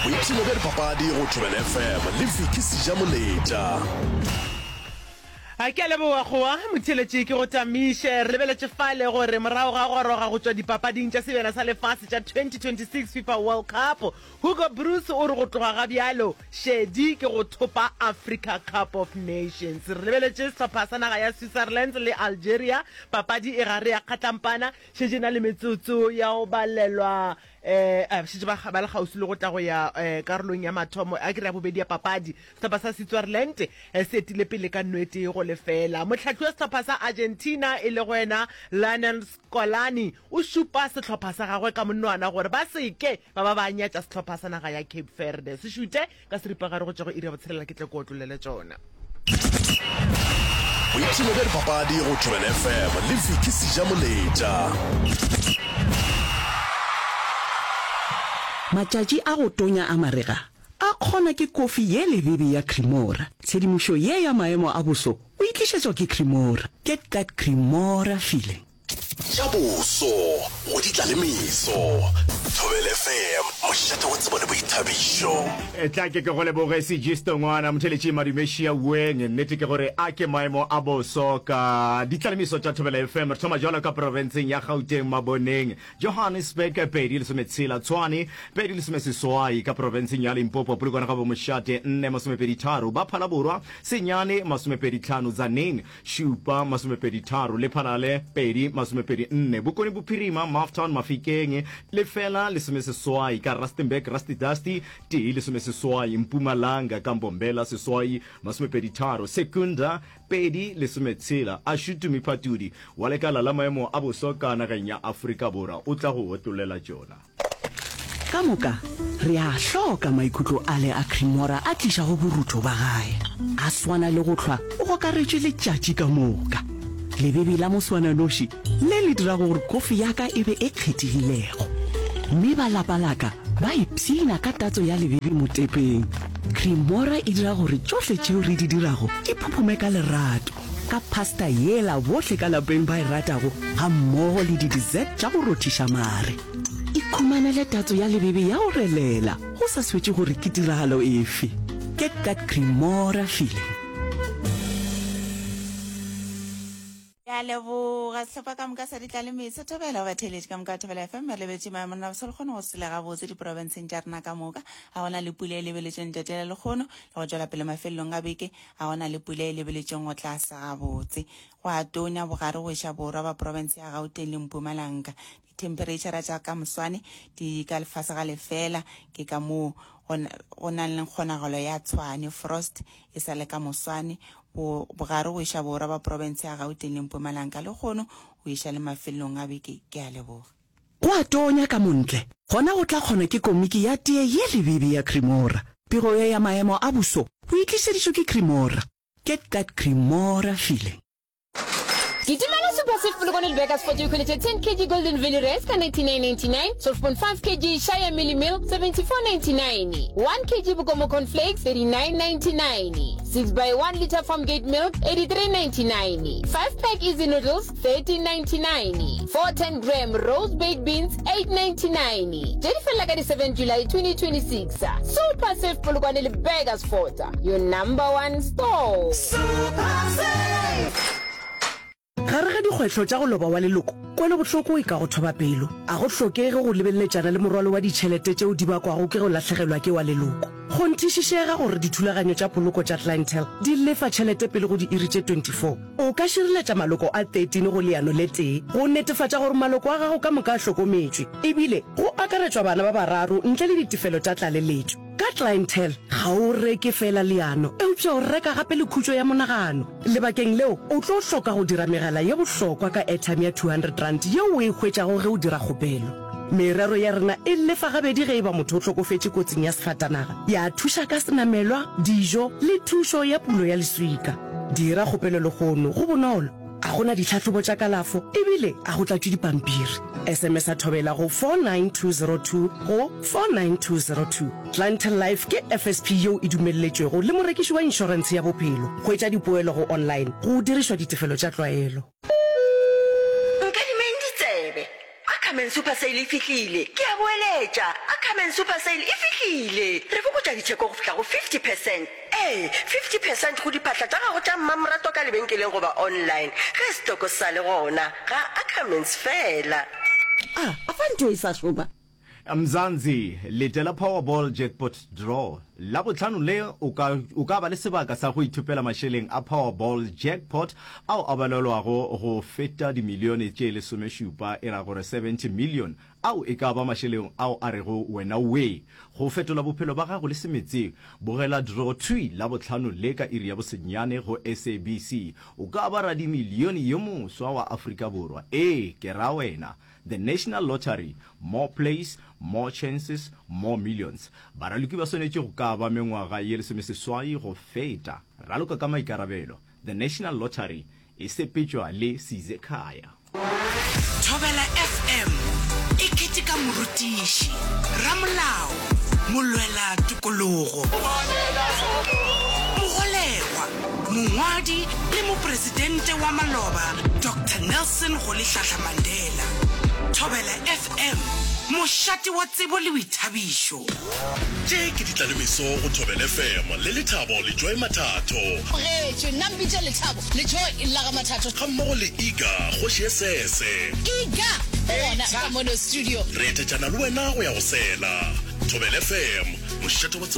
Boipshino bja dipapadi go Thobela FM le Vicky Sejamoletša. A ke a leboga goa motheeletši ke go tamiše. Re lebeletše fale gore morago ga goroga go tšwa dipapading tša Sebjana sa Lefase tša 2026 FIFA World Cup, Hugo Broos o re go tloga ga bjalo šedi ke go thopa Africa Cup of Nations. Re lebeletše sehlopha sa naga ya Switzerland le Algeria, papadi e gare ya kgatlampana, šetše e na le metsotso ya go balelwa um šetše ba ba le kgauswi le go tla go ya um karolong ya mathomo a ke re ya bobedi ya papadi. Sehlopha sa Switzerland se etile pele ka nwete go lefela. Mohlahli wa sehlopha sa Argentina e lego yena Lionel Scolani o šupa sehlopha sa gagwe ka monwana gore ba se ke ba ba ba nyatša sehlopha sa naga ya Cape Verde. Se šute ka seripagare go tšwa go iri ya botshelela ke tle ke otlolele tšona. Boipshino bja dipapadi go Thobela FM le Vicky Sejamoletša. Matšatši a go tonya a marega a kgona ke kofi ye lebebe ya Cremora. Tshedimošo ye ya maemo a boso o e tlišetšwa ke Cremora. Get that Cremora feeling. Tša boso go di tla le meso. Thobela FM, mošate wa tsebo le boithabišo. Tla ke ke go leboge Sejisto ngwana motheletši Madumešia Weng. Nnete ke gore a ke maemo a boso ka ditlalemiso tša Thobela FM. Re thoma jwalo ka profenseng ya Gauteng Maboneng, Johannesburg 2 lesome Tshwane 2 lesome ka profenseng ya Limpopo Polokwane ga bomošate 4 masomepedi tharo ba Phalaborwa 9 masomepedi tlhano Tzaneen Šupa, masomepeditharo, Lephalale, 2, 24, Bokone Bophirima, Maftown, Mafikeng, lefela, lesomeseswai, ka Rustenburg, Rusty Dusty, tee, lesomeseswai, Mpumalanga, ka Mbombela, seswai, masomepeditharo, Secunda, 2, lesometshela, Ashutumi Phatudi, wa lekala la maemo a boso ka nageng ya Afrika Borwa, o tla go otlolela tšona. Ka moka re a hloka maikutlo ale a Cremora a tlišago borutho ba gae. A swana le go hlwa o gokaretšwe letšatši ka moka. Lebebe la moswananoši le le dirago gore kofi ya ka e be e kgethegilego. Mme ba lapa la ka ba ipshina ka tatso ya lebebe motepeng. Cremora e dira gore tšohle tšeo re di dirago di phuphume ka lerato. Ka pasta yela bohle ka lapeng ba e ratago gammogo le di-dessert tša go rothiša mare. Ikhumanele tatso ya lebebe ya go relela go sa swetše gore ke tiragalo efe. Get that Cremora feeling. Ke a leboga sehlopha ka moka sa Ditlalemeso. Thobela go batheeletši ka moka ba Thobela FM. Re lebetše maemo rena boso le kgone go sele gabotse diprofenseng tša rena ka moka. Ga gona le pula e lebeletšweng letšatši la lekgono le go tšwela pele mafelelong a beke. Ga go na le pula e lebeletšweng go tla sa gabotse. Go a tonya bogare go iša borwa ba profense ya Gauteng le Mpumalanga. Dithemphereitšhara tša ka moswane di ka lefase ga lefela, ke ka moo go, go nang le kgonagalo ya tshwane, frost, e sa le ka moswane. Bo, bogare go iša borwa ba profense ya Gauteng le Mpumalanga lehono go iša le mafelelong a beke. Ke a leboga. Go a tonya ka montle, gona go tla kgona ke komiki ya tee ye lebebe ya Cremora. Pego ye ya maemo a boso o e tlišeditšwe ke Cremora. Get that Cremora feeling. Kitimela Super Save Polokwane le Burgersfort o ikhweletše 10 kg Golden Valley Rice ka 99.99, 12.5 kg Shire Mealie Meal 74.99, 1 kg Bokomo Corn Flakes 39.99, 6 by 1 litre Farmgate Milk 83.99, 5 pack Easy Noodles 13.99, 410 gram Rose Baked Beans 8.99. Tše di felela ka di 7 July 2026. Super Save Polokwane le Burgersfort, your number one store. Gare ga dikgwetlho tša go loba wa leloko, kwelobohloko e ka go thoba pelo. A go hlokege go lebeleletšana le morwalo wa ditšhelete tšeo di bakwago ke go lahlegelwa ke wa leloko. Kgonthišišega gore dithulaganyo tša poloko tša Clientele di lefa tšhelete pele go diiri tše 24. O ka šireletša maloko a 13 go leano le tee go netefatša gore maloko a gago ka moka a hlokometšwe, ebile go akaretšwa bana ba bararo ntle le ditefelo tša tlaleletšo. Ka Clientele, ga o reke feela leano, eupša o reka gape le khutšo ya monagano. Lebakeng leo, o tlo hloka go dira megala ye bohlokwa ka airtime ya R200 yeo o e hwetšago ge o dira kgopelo. Merero ya rena e lefa gabedi ge e ba motho o hlokofetše kotsing ya sefatanaga, ya thuša ka senamelwa, dijo le thušo ya pulo ya leswika. Dira kgopelo lehono, go bonolo, ga go na ditlhahlobo tša kalafo ebile ga go tlatšwe dipampiri. SMS-a Thobela go 49202 go 49202. Clientele Life ke FSP yeo e dumelletšwego le morekiši wa inšorentshe ya bophelo. Hwetša dipoelo go online go dirišwa ditefelo tša tlwaelo. Nkadimeng ditsebe. A Cameron. Ackerman Super Sale e fihlile! Ke a boeletša, Ackerman Super Sale e fihlile! Re fokotša ditheko go fihla go 50 percent. Ee, 50 percent go diphahla tša gago tša mmamoratwa ka lebenkeleng goba online, ge setoko se sa le gona, ga Ackermans feela. A, afa ntho e sa šoma? Mzansi, Letela Powerball Jackpot Draw Labohlano le o ka o ka ba le sebaka sa go ithopela mašeleng a Powerball Jackpot ao a balelwago go feta dimilione tše lesomešupa, e ra gore 70 million, ao e ka ba mašeleng ao a rego wena wee go fetola bophelo ba gago le semetseng. Bogela draw thwi Labohlano le ka iri ya bosenyane go SABC. O ka ba radimilione yo moswa wa Afrika Borwa. Ee, ke ra wena. The National Lottery, More Plays, More Chances, More Millions. Baraloki ba swanetše go ka ba mengwaga ye lesomeseswai go feta. Raloka ka maikarabelo. The National Lottery e sepetšwa le Sizekhaya. Thobela FM e keteka morutiši, ramolao, molwela tokologo, mogolegwa, Mongwadi le Mopresidente wa maloba Doctor Nelson Rolihlahla Mandela. Thobela FM, mošate wa tsebo le boithabišo. Tše ke ditlalemeso go Thobela FM le Lethabo le Joy Mathatho. Tlogetšwe, nna mpitše Lethabo le Joy la ga Mathatho. Gammogo le Iga, kgoši ye sese. Iga o gona ka mono studio. Re etetšana le wena go ya go sela. Thobela FM, mošate wa tsebo.